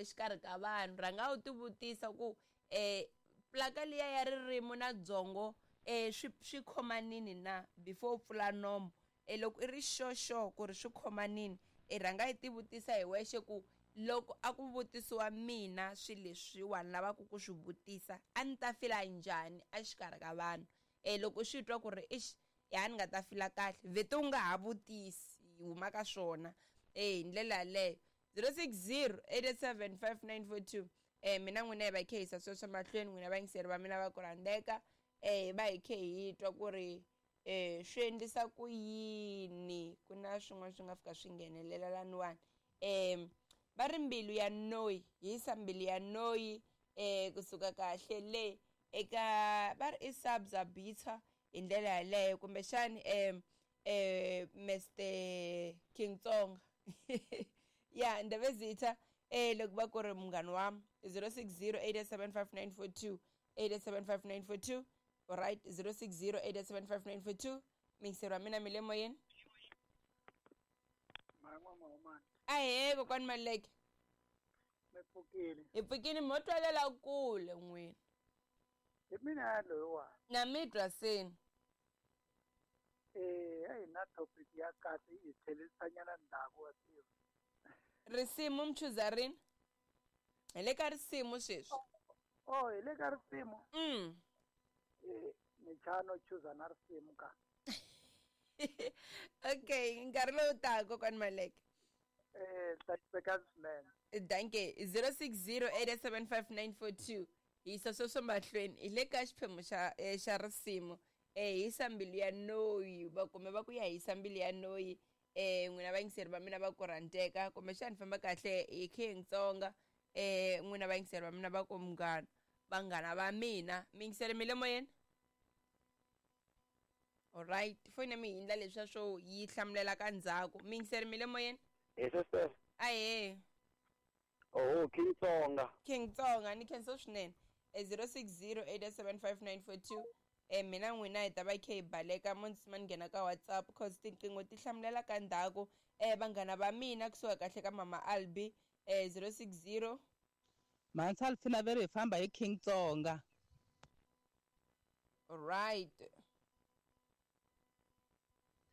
Exikarhi ka vanhu rhanga u tivutisa ku plaka liya ya ririmi na byongo swi khomanini na before u pfula nomo. Loko i ri sure sure ku ri swi khomanini i rhanga i tivutisa hi wexe ku loko a ku vutisiwa mina swilo leswiwani lavaka ku swi vutisa a ni ta fila njhani exikarhi ka vanhu. Loko u swi twa ku ri ixi ya ni nga ta fila kahle vhete u nga ha vutisi hi huma ka swona hi ndlela yaleyo. 060 87 5942 mina n'wina hi va khe hisa sweswo mahlweni n'wina vayingiseri va mina va ku rhandzeka hi va hi khe hi twa ku ri swi endlisa ku yini ku na swin'wana swi nga fika swi nghenelela laniwani. Va ri mbilu ya noyi hisa mbilu ya noyi kusuka kahle le eka va ri i Sabza Bitter hi ndlela yaleyo kumbexani Mr King Tsonga ya Ndabezitha loko va ku ri munghana wami 060 875 942 875 942 alright 060 875 942 mingiseri wa mina mi le moyeni. Ahee kokwani Maleke. Mi pfukile. Hi pfukile mo twalela kule n'wina. Hi mina loyiwani. Na mi twa seni. A hi na topic ya kahle yi tlherisanyana ndzhaku wa tiva. Risimu mi chuza rini? Hi le ka risimu sweswi. Oh, hi le ka risimu. Ni chano chuza na risimu ka. Okay, nkarhi lowu taka kokwani Maleke. Teka swinene. Danke. 060 875 942 hisa sweswo mahlweni hi le ka xiphemu xa xa risimu. Hisa mbilu ya noyi va kumbe va ku ya hisa mbilu ya noyi n'wina vayingiseri va mina va ku rhandzeka kumbexani famba kahle hi King Tsonga n'wina vayingiseri va mina va ku munghana vanghana va mina miyingiseri mi le moyeni. Alright, foni ya mi hindla leswiya swo yi hlamulela ka ndzhaku. Miyingiseri mi le moyeni. Hi sister. Ahee. Oh, King Tsonga. King Tsonga ni khensa swinene. 060 875 942 mina n'wina hi ta va khe hi baleka mo ndzi ni nghena ka WhatsApp cause tinqingho ti hlamulela ka ndzhaku. Vanghana va mina kusuka kahle ka Mama Albi 060 Mansa Alfina veri hi famba hi King Tsonga. Alright.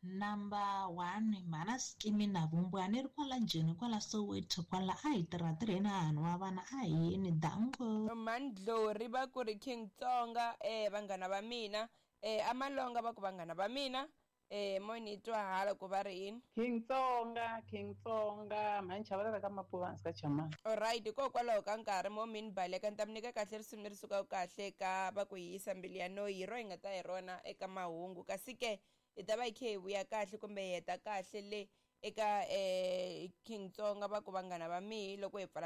Number 1 mhana Skimi na Vumbwani ri kwala Joni kwala Soweto kwala a hi tirha tirheni a hanhu wa vana a hi yeni dango. Mandlori va ku ri King Tsonga vanghana va mina Amalonga va ku vanghana va mina mo ni twa hala ku va ri yini. King Tsonga, King Tsonga mhani chavelela ka Mapuva hansi ka Chamani. Alright, hikokwalaho ka nkarhi mo mi ni baleka ni ta mi nyika kahle risimu leri sukaka kahle ka va ku hisa mbilu ya noyi hi ro hi nga ta hi rona eka mahungu kasi ke hi ta va hi khe hi vuya kahle kumbe hi heta kahle le eka King Tsonga va ku vanghana va mihi loko hi pfala.